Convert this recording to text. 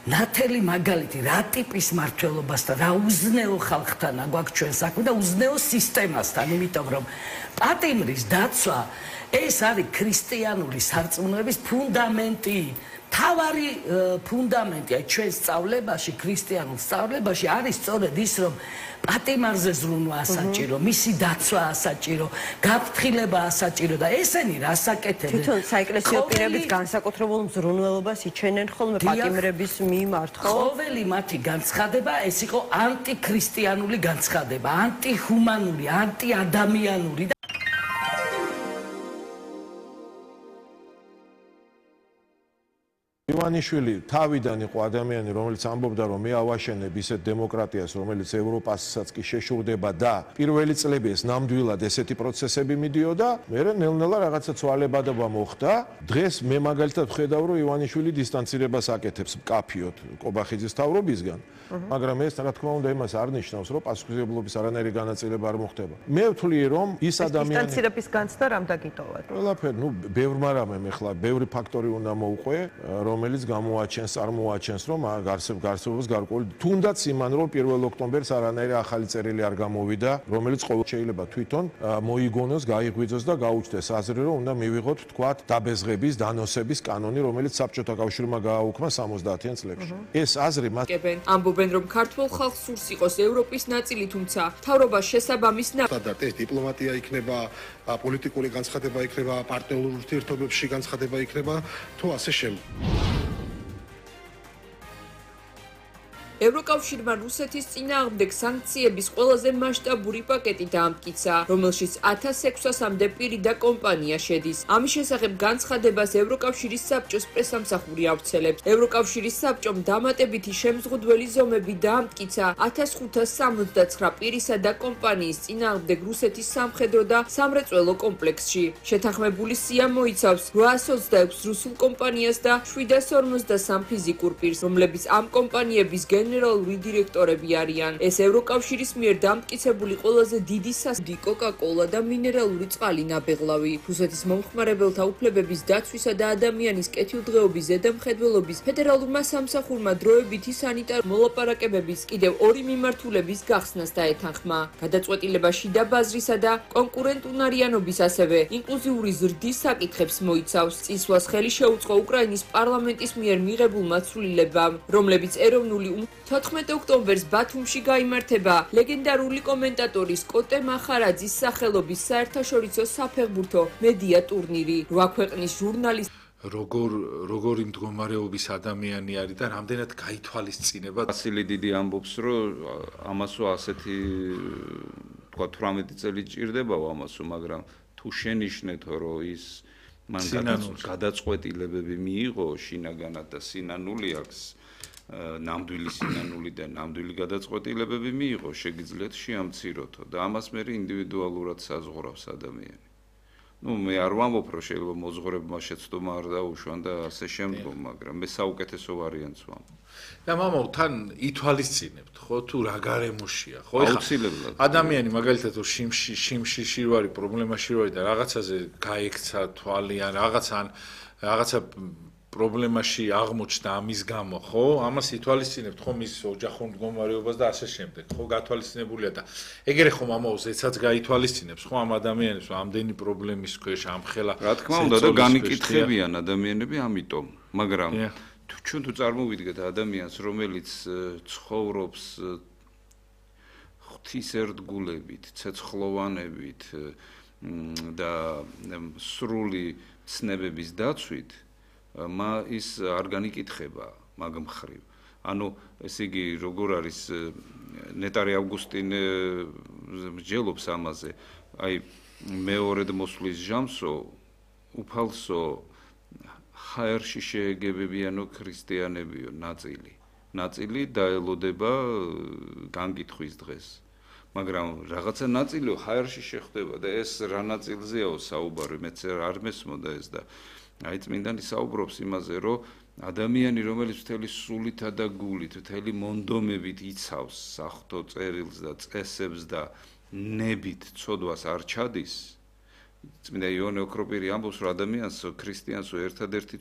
ნათელი მაგალითი რა ტიპის მმართველობასთან, რა უზნეო ხალხთან აგვაქვს ჩვენ საქმე და უზნეო სისტემასთან, იმიტომ რომ პატიმრის დაცვა ეს არის ქრისტიანული სარწმუნოების ფუნდამენტი. თავარი ფუნდამენტია ჩვენ სწავლებაში, ქრისტიანულ სწავლებაში არის სწორედ ის, რომ პატიმარზე ზრუნვა ასაჭირო, მისი დაცვა ასაჭირო, გაფრთხილება ასაჭირო და ესენი რას აკეთებენ? თვითონ საეკლესიო პირებიც განსაკუთრებულ მზრუნველობას იჩენენ ხოლმე პატიმრების მიმართ, ხო? ყოველი მათი განცხადება ეს იყო ანტიქრისტიანული განცხადება, ანტიჰუმანური, ანტიადამიანური. ივანიშვილი თავიდან იყო ადამიანი, რომელიც ამბობდა, რომ მე ავაშენებ ისეთ დემოკრატიას, რომელიც ევროპასაც კი შეშურდება და პირველი წლები ეს ნამდვილად ესეთი პროცესები მიდიოდა, მერე ნელ-ნელა რაღაცა ცვალებადობა მოხდა. დღეს მე მაგალითად ვხედავ, რომ ივანიშვილი დისტანცირებას აკეთებს მკაფიოდ კობახიძის თავრობისგან, მაგრამ ეს რა თქმა უნდა იმას არ ნიშნავს, რომ პასუხისმგებლობის არანაირი განაწილება არ მოხდება. მე ვთვლი, რომ ის ადამიანი დისტანცირების განცდა რამ დაგიტოვათ? ყველაფერი, ბევრმა რამემ ეხლა ბევრი ფაქტორი უნდა მოუყვე, რომელიც წარმოაჩენს, რომ არსებობს გარკვეული თუნდაც იმან, რომ 1 ოქტომბერს არანაირი ახალი წერილი არ გამოვიდა, რომელიც ყოველ შეიძლება თვითონ მოიგონოს, გაიღვიძოს და გაუჩნდეს აზრი, რომ უნდა მივიღოთ თქვათ დაბეზღების, დანოსების კანონი, რომელიც საბჭოთა კავშირმა გააუქმა 70-იან წლებში. ეს აზრი მას ამბობენ, რომ ქართულ ხალხს სურს იყოს ევროპის ნაწილი, თუმცა მთავრობას შესაბამის სტანდარტი ეს დიპლომატია იქნება, პოლიტიკური განცხადება იქნება, პარტნიორულ ურთიერთობებში განცხადება იქნება, თუ ასე შემდეგ. ევროკავშირმა რუსეთის წინააღმდეგ სანქციების ყველაზე მასშტაბური პაკეტი დაამტკიცა, რომელშიც 1600-მდე პირი და კომპანია შედის. ამის შესახებ განცხადებას ევროკავშირის საბჭოს პრესამსახური ავრცელებს. ევროკავშირის საბჭომ დამატებითი შემზღუდველი ზომები დაამტკიცა 1569 პირისა და კომპანიის წინააღმდეგ რუსეთის სამხედრო და სამრეწველო კომპლექსში. შეთანხმებული სია მოიცავს 826 რუსულ კომპანიას და 753 ფიზიკურ პირს, რომლებიც ამ კომპანიების გენერალური დირექტორები არიან. ეს ევროკავშირის მიერ დამტკიცებული ყველაზე დიდი სასდი კოკა-კოლა და მინერალური წყალი ნაბეღლავი. რუსეთის მომხმარებელთა უფლებების დაცვისა და ადამიანის კეთილდღეობის ზედამხედველობის ფედერალურმა სამსახურმა დროებითი სანიტარული მოლაპარაკებების კიდევ 2 მიმართულების გახსნას დაეთანხმა. გადაწყვეტილება შიდა ბაზრისა და კონკურენტუნარიანობის, ასევე ინკლუზიური ზრდის საკითხებს მოიცავს. წინსვლას ხელი შეუწყო უკრაინის პარლამენტის მიერ მიღებულმა ცვლილებამ, რომლებიც ეროვნული 14 ოქტომბერს ბათუმში გაიმართება ლეგენდარული კომენტატორის კოტე მახარაძის სახელობის საერთაშორისო საფეხბურთო მედია ტურნირი. 8 ქვეყნის ჟურნალისტ როგორი მდგომარეობის ადამიანი არის და რამდენად გაითვალისწინება. ვასილი დიდი ამბობს, რომ ამასო ასეთი თქვა 18 წელი ჭირდებაო ამასო, მაგრამ თუ შენიშნეთო, რომ ის მან გადაწყვეტილებები მიიღო შინაგანად და სინანული აქვს, ნამდვილი სინანული და ნამდვილი გადაწყვეტილებები მიიღო, შეგიძლიათ შეამციროთო და ამას მე ინდივიდუალურად საზღვრავს ადამიანი. მე არ ვამბობ, რომ შეიძლება მოძღვრებმა შეცდომა არ დაუშვან და ასე შემდგომ, მაგრამ მე საუკეთესო ვარიანტს ვამბობ. და მამაო, თან ითვალისწინებთ, ხო, თუ რა გარემოშია, ხო? აუცილებლად. ადამიანი მაგალითად შიმში ვარი, პრობლემაში ვარი და რაღაცაზე გაიქცა თვალი ან რაღაცა პრობლემაში აღმოჩნდა ამის გამო, ხო? ამას ითვალისწინებთ ხომ ის ოჯახურ მდგომარეობას და ასე შემდეგ, ხო? გათვალისწინებულია და ეგრე ხომ ამაოს ეცაც გაითვალისწინებს, ხო? ამ ადამიანებს ამდენი პრობლემის ქვეშ ამხელა. რა თქმა უნდა და განიკითხებიან ადამიანები ამიტომ, მაგრამ ჩვენ თუ წარმოვიდგეთ ადამიანს, რომელიც ცხოვრობს ღვთის ერთგულებით, ცეცხლოვანებით და სრული ცნებების დაცვით, ის არ განიკითხება მაგ მხრივ. ანუ ესე იგი როგორ არის ნეტარი ავგუსტინე მსჯელობს ამაზე, აი მეორედ მოსვლის ჟამსო უფალსო ხაერში შეეგებებიანო ქრისტიანებიო ნაწილი დაელოდება განკითხვის დღეს. მაგრამ რაღაცა ნაწილიო ხაერში შეხვდება და ეს რა ნაწილზეაო საუბარი, მეც არ მესმოდა ეს და აი წმინდანი საუბრობს იმაზე, რომ ადამიანი, რომელიც მთელი სულითა და გულით, მთელი მონდომებით იცავს საღვთო წერილს და წესებს და ნებით ცოდვას არ ჩადის, წმინდა იონე ოქროპირი ამბობს, რომ ადამიანს, ქრისტიანს ერთადერთი